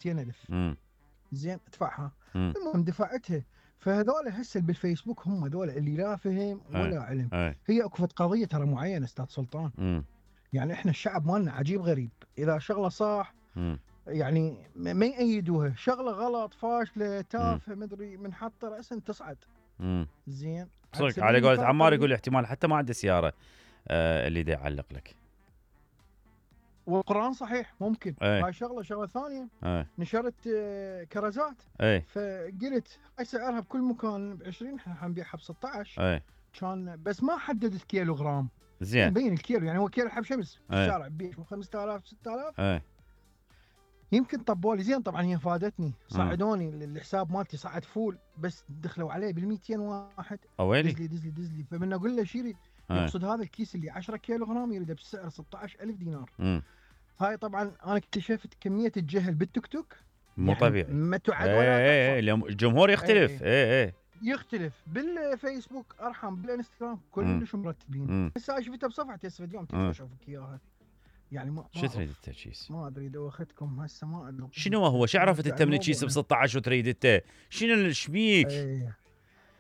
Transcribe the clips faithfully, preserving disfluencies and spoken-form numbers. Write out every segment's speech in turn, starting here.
خمسين ألف امم زين ادفعها. امم المهم دفعتها. فهذول هسه بالفيسبوك هم هذول اللي لا فهم ولا علم. اي هي اكو فد قضيه ترى معينه استاذ سلطان. امم يعني احنا الشعب مالنا عجيب غريب، اذا شغله صح امم يعني ما ما يأيدوها، شغله غلط فاشله تافهه مدري من حط راسا تصعد. امم زين صدق على قولة عمار يقول احتمال حتى ما عنده سياره آه اللي دا يعلق لك. والقرآن صحيح ممكن. اي هاي شغله شغله ثانيه. اي نشرت آه، كرزات. اي فقلت هاي سعرها بكل مكان ب عشرين، احنا حنبيعها ب ستة عشر. اي كان بس ما حددت كيلو غرام. زين مبين الكيلو، يعني هو كيلو حب شمس في اي الشارع بيع خمسة آلاف ستة آلاف. اي يمكن طبوا لي زين. طبعا هي فادتني، صعدوني الحساب مالتي صعد فول، بس دخلوا عليه بال مئتين واحد. اويلي دزلي دزلي دزلي. فمن اقول له شيري يقصد هذا الكيس اللي عشرة كيلو غرام يريده بسعر ستة عشر ألف دينار. امم هاي طبعا انا اكتشفت كميه الجهل بالتيك توك مو يعني طبيعي. ما تعد اي ولا اي اي الجمهور يختلف. اي اي يختلف. بالفيسبوك ارحم، بالانستغرام كلش مرتبين. امم هسه انا شفتها بصفحتي هسه اليوم تقدر اشوفك اياها. يعني ما شو تريد التركيز؟ ما ادري دوختكم هسه ما ادري شنو هو؟ شو عرفت انت من الكيس ب ستة عشر وتريد انت؟ شنو الشبيك؟ ايه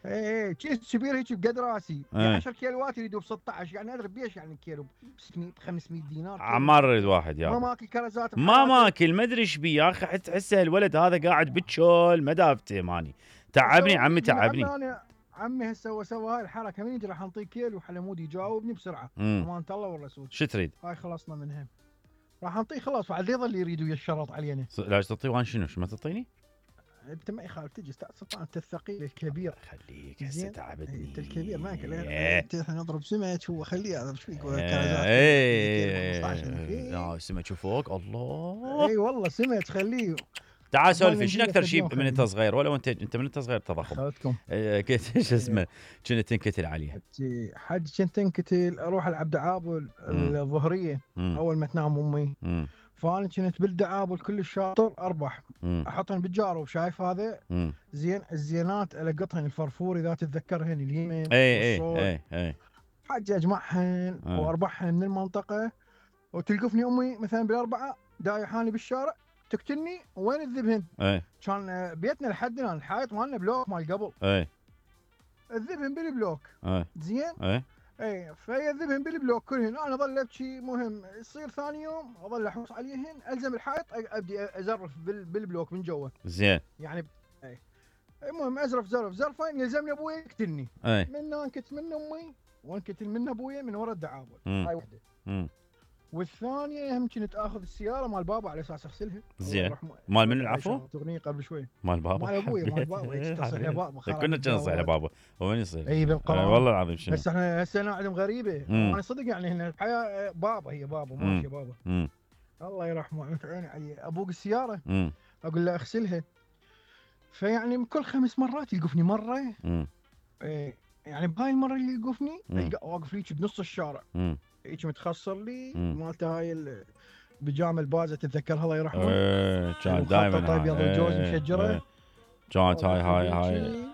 ايه كيس كبير هيك بقد راسي يعني عشرة كيلوات يريدوا ب ستة عشر. يعني ادري بيش يعني الكيلو ب ستمئة ب خمسمئة دينار. عمار يريد واحد يا ما ماكل كرزات ما ماكل ما ادري ايش بيه يا اخي. تحسه الولد هذا قاعد بالشول ما دافته ماني. تعبني عمي تعبني. انا عمي هسه هو سوى هاي الحركه من يجي راح نعطيه كيلو حلمود يجاوبني بسرعه. امانه الله والرسول. شو تريد؟ هاي خلصنا منها. راح نعطيه خلاص بعد يظل يريدوا يشرط علينا. لا تعطيه وان شنو؟ شو ما تعطيني؟ انت ما يخالف تجي استاذ سلطان، انت الثقيل الكبير. خليك هسه تعبتني. انت الكبير ما انت احنا نضرب سمك هو خليه هذا ايش فيك كرزات. اي سمك فوق الله. اي والله سمك خليه. تعال سولفي شنو اكثر شيء من انت صغير ولا وانت انت من انت صغير تضخم؟ اخذتكم كنت شو اسمه كنت تنكتل عليه؟ حج كنت تنكتل اروح العب دعابل الظهريه اول ما تنام امي. فانا كنت بالدعابل كل الشاطر اربح. احطهن بالجارو شايف هذا مم. زين الزينات القطهن الفرفور اذا تتذكرهن اليمين اي اي اي اي حج اجمعهن واربحهن من المنطقه. وتلقفني امي مثلا بالاربعه دايحاني بالشارع تقتلني وين الذبهن؟ اي كان بيتنا لحدنا الحائط مالنا بلوك مال قبل. اي الذبهن بالبلوك. اي زين؟ اي اي فهي الذبهن بالبلوك كلهن. انا اظل ابكي. مهم يصير ثاني يوم اظل احوس عليهن الزم الحائط ابدي ازرف بالبلوك من جوا. زين يعني اي المهم ازرف زرف زرفين يلزمني ابوي يقتلني. اي من انكت من امي وانكتل من ابوي من ورا الدعابل. هاي وحده. امم والثانيه هم كنت اخذ السياره مال بابا على اساس اغسلها. زين مال من العفو؟ تغنيه قبل شوي مال بابا. مال ابوي مال بابا تصح لبابا. كنا نصيح لبابا وين يصير؟ اي بالقران آه والله العظيم. شنو بس احنا هسه نعلم غريبه. مم. انا صدق يعني هنا الحياه بابا هي بابا ماشي بابا. مم. الله يرحمه عيني عيني عليه. ابوق السياره مم. اقول له اغسلها. فيعني كل خمس مرات يوقفني مره. مم. إيه يعني بهاي المره اللي يوقفني واقف ليك بنص الشارع. مم. هيك متخسر لي مم. مالته هاي البيجامه البازه تتذكرها الله يرحمه. ايه كان دائما طيب يا الجوز مشجره. كانت هاي هاي هاي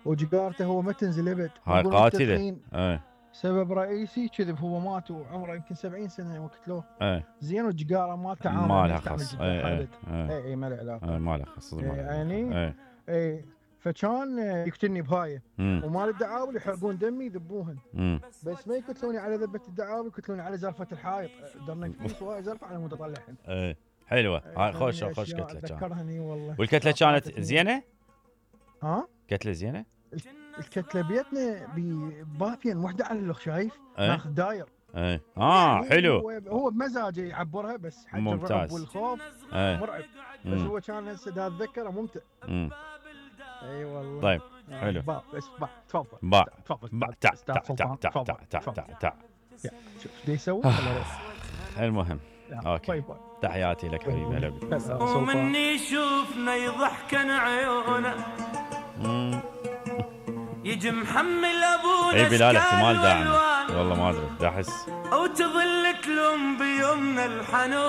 وجيجارته هو ما تنزل ابد. هاي قاتله. ايه سبب رئيسي كذب هو مات وعمره يمكن سبعين سنه وقتلوه. ايه زين والجيجاره مالته عامل ما لها خص. ايه ايه ايه ايه ما له علاقه. ايه ما لها خص يعني ايه ايه فكان يقتلني بهاي. ومال الدعابل يحرقون دمي يذبوهن. بس ما يقتلوني على ذبه الدعابل يقتلوني على زرفه الحائط. درنا فلوس وهاي زرفه على مود اطلعهن. ايه حلوه هاي خوش خوش كتله كانت. ذكرهني والله. والكتله كانت زينه؟ ها؟ كتله زينه؟ الكتله بيتنا ببافين وحده على الاخ شايف؟ ايه؟ ناخذ داير. ايه اه يعني حلو. هو, هو بمزاجه يعبرها بس حتى الرعب والخوف ايه؟ مرعب. بس هو كان هسه اتذكره ممتع. امم اي والله. طيب حلو. باع بس باع تفضل. باع تفضل. باع تع تع تع تع تع تع تع. شوف ايش يسوي؟ المهم اوكي تحياتي لك حبيبي. هلا بك. ومني يشوفنا يضحكن عيونه يجي محمل ابونا. اي بلال احتمال داعم والله ما ادري دا احس. او تظل تلوم بيومنا الحنونه.